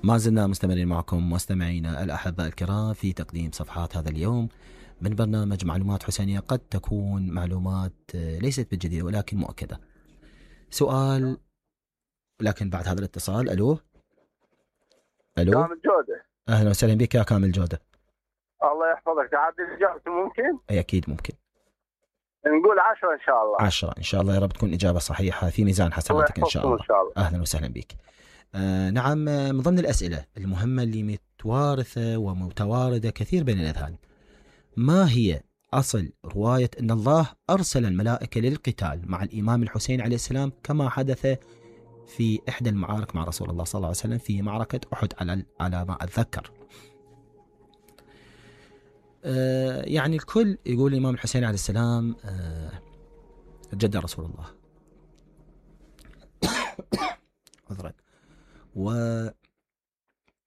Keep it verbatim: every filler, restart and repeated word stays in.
ما زلنا مستمرين معكم مستمعينا الأحباء الكرام في تقديم صفحات هذا اليوم من برنامج معلومات حسينية، قد تكون معلومات ليست بالجديدة ولكن مؤكدة. سؤال لكن بعد هذا الاتصال. ألو ألو كامل جودة، أهلا وسهلا بك يا كامل جودة. الله يحفظك. تعدل إجابته ممكن؟ أي أكيد ممكن. نقول عشرة إن شاء الله. عشرة إن شاء الله، يا رب تكون إجابة صحيحة في ميزان حسناتك إن شاء الله. إن شاء الله. أهلا وسهلا بك. آه نعم، من ضمن الأسئلة المهمة اللي متوارثة ومتواردة كثير بين الأذهان، ما هي أصل رواية أن الله أرسل الملائكة للقتال مع الإمام الحسين عليه السلام كما حدث في إحدى المعارك مع رسول الله صلى الله عليه وسلم في معركة أحد على على ما أتذكر؟ آه يعني الكل يقول الإمام الحسين عليه السلام آه جد رسول الله عذرا، ويعني